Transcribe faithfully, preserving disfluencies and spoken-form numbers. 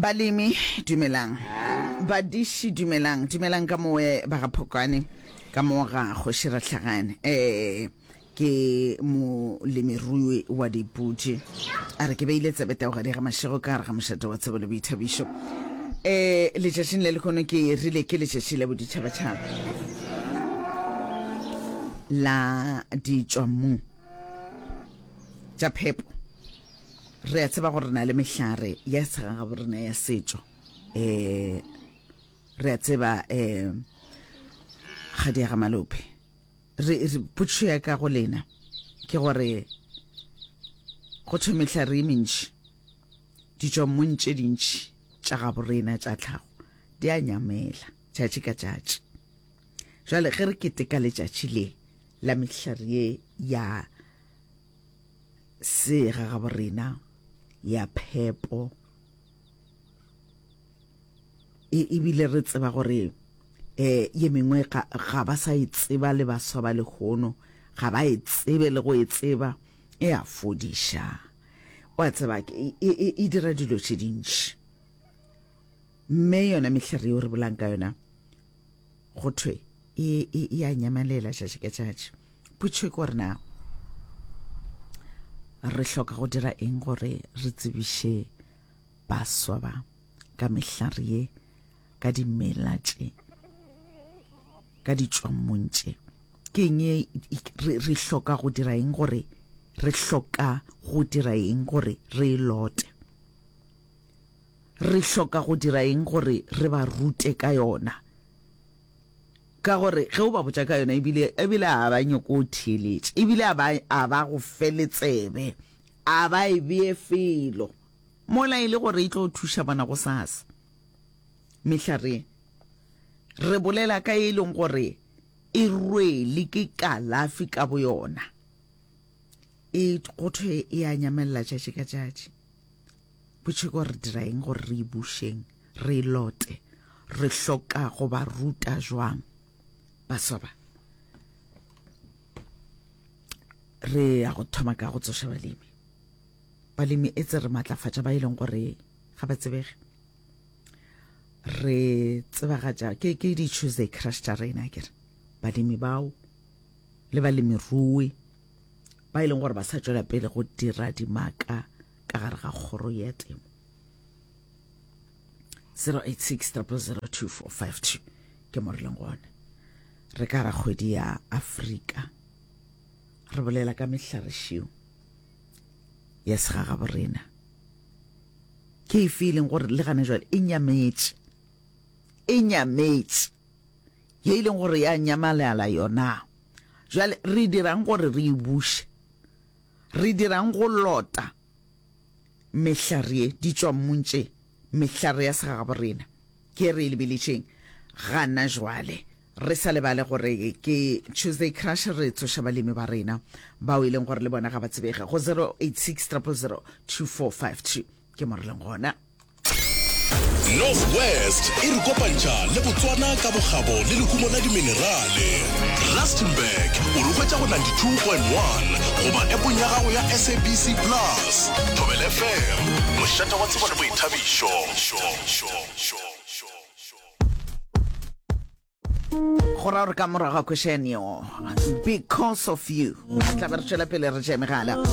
Balemi dumelang, badiši dumelang, dumelang ka mowe ba ga Phokwane, ka mo ga Kgoši Rahlagane. Eh ke molemirui wa dipudi. A re ke beile tsebe taogadi ga mašego ka gare ga mošate wa tsebo le boithabišo. Eh letšatšing le lekhono ke rile ke letšatši la boditšhabatšhaba la ditšwammung tša phepo. Re a tseba gore re na le mehlare ya segagabo rena ya setšo. Eh re a tseba eh kgadi ya ga malope. Re re potšišo ya ka go lena ke gore go thwe mehlare e mentši ditšwammung tše dintši tša gabo rena tša tlhago di a nyamela tšatši ka tšatši. Jwale ge re keteka letšatši le la mehlare ye ya segagabo rena ya phepo e ebile re tseba gore eh ye mengwe ga, ga ba sa e tseba le baswa ba lehono ga ba e tsebe le go e tseba e a fodiša wa tseba e, e, e dira dilo tše dintši mme yona mehlare yeo re bolang ka yona go thwe e, e, e a nyamalela tšatši ka tšatši. Potšo ke gore na re hloka go dira eng gore re tsebiše baswa ba ka mehlare ye, ka dimela tše, ka ditšwammung tše. Ke eng ye re, re hloka go dira eng gore re hloka go dira eng gore re e lote? Re hloka go dira eng gore re ba rute ka yona? Ka gore ge o ba botša ka yona ebile ebile a ba nyoko o theeletša, ebile a ba a ba go fe le tsebe, a ba e bee felo mola e le gore e tlo thuša bona go sasa. Mehlare re bolela ka e leng gore e rwele ke kalafi ka boyona, e go thwe e a nyamelela tšatši ka tšatši. Potšo ke gore re dira eng gore re e bušeng, re e lote? Re hloka go ba ruta jwang baswa ba? Re ya go thoma ka go tsoša balemi. Balemi etse re matlafatša ba e leng gore ga ba tsebege. Re tsebagatša ke ke di Tuesday crush tša rena ke re balemi bao le balemirui ba e leng gore ba sa tšwela pele go dira dimaka ka gare ga kgoro ya temo. zero eight six triple zero two four five two ke mo re leng gona. Re ka ra kgwedi ya Afrika re bolela ka mehlarešio ya segagabo rena. Ke efe e leng gore le gana jwale e nyametše, e nyametše ye e leng gore ya nyamalala yona. Jwale re dirang gore re e buše? Re dirang go lota mehlare ye ditšwammung tše, mehlare ya segagabo rena ke re e lebeletšeng gana jwale? Re sa lebale gore ke Tuesday Crush, re tsoša balemi ba rena bao e leng gore le bona ga ba tsebege go zero eight six triple zero two four five two ke mo re leng gona. North West e re kopantšha le Botswana ka bokgabo le lehumo la diminerale. Rustenburg o re hwetša go ninety-two point one goba appong ya gago ya S A B C Plus. Thobela F M, mošate wa tsebo le boithabišo. Go ra gore ka morago ga kwešenyo Because of You tla be re tšwela pele re tšea megala.